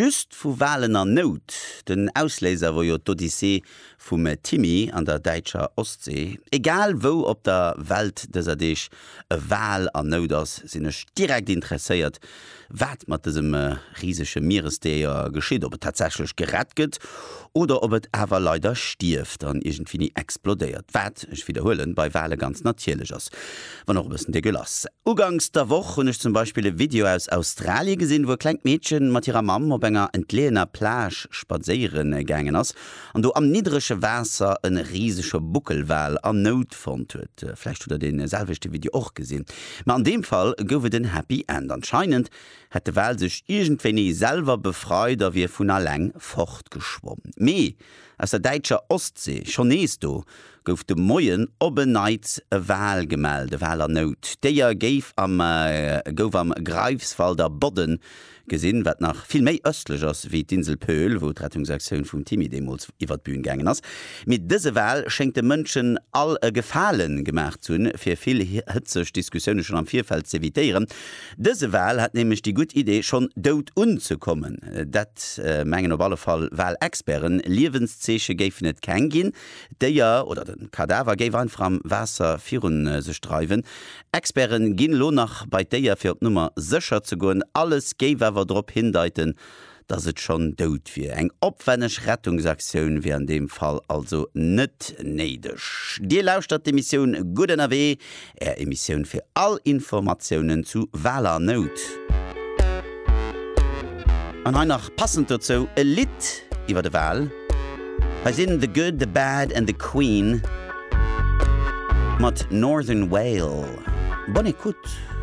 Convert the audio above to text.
just vu Walen an Nout. Den Ausléiser wor jo d'Odyssee vum Timmy an der däitscher Ostsee. Egal wou op der Welt dëser Deeg e Wal an Nout ass, sinn ech direkt interesséiert, wat mat dësem risege Mieresdéier geschitt, ob et tatsächlech gerett gëtt oder ob et awer leider stierft an iergendwéini explodéiert, wat, ech widderhuelen, bei Wale ganz natierlech ass, wann och e bëssen dégueulasse. Uganks der Woch hunn ech zum Beispill e Video aus Australie gesinn, wou e klengt Meedchen mat hirer Mamm op enger entleeëner Plage spadséiere gaangen ass an do am niddrege Waasser e risege Buckelwal an Nout fonnt huet. Vläicht hutt der dee selwechte Video och gesinn. Ma an deem Fall gouf et en Happy End. Anscheinend hätt de Wal sech iergendwéini selwer befreit a wier vun alleng fortgeschwomm. Mee aus der däitscher Ostsee, schonn nees do, gouf de Moien op en Neits e Wal gemellt, e Wal an Nout. D'Déier géif am gouf am Greifswalder Bodden gesinn, wat nach vill méi ëstlech ass wéi d'Insel Pöhl, wou d'Rettungsaktioun vum Timmy deemools iwwer d'Bühn gaangen ass. Mee dëse Wal schéngt de Mënschen all e Gefale gemaach ze hunn, fir vill hëtzeg Diskussioune schonn am Virfeld z'evitéieren. Dëse Wal hat nämlech déi gutt Idee, schonn dout unzekommen. Dat mengen op alle Fall Walexperten. Liewenszeeche géifen et keng ginn. D'Déier oder de Kadaver géif einfach am Waasser virun sech dreiwen. Experten ginn elo nach bei d'Déier fir op Nummer sécher ze goen. Alles géif awer drop hindeiten, dass et schonn dout wier. Eng opwänneg Rettungsaktioun wier an deem Fall also net néideg. Dir lauschtert d'Emissioun Gutt ënnerwee, Är Emissioun fir all Informatiounen zu Waler Nout. An hei nach passend dozou e Lidd iwwer e Wal. Hei sinn The Good, The Bad and The Queen mat Northern Whale. Bonne écoute!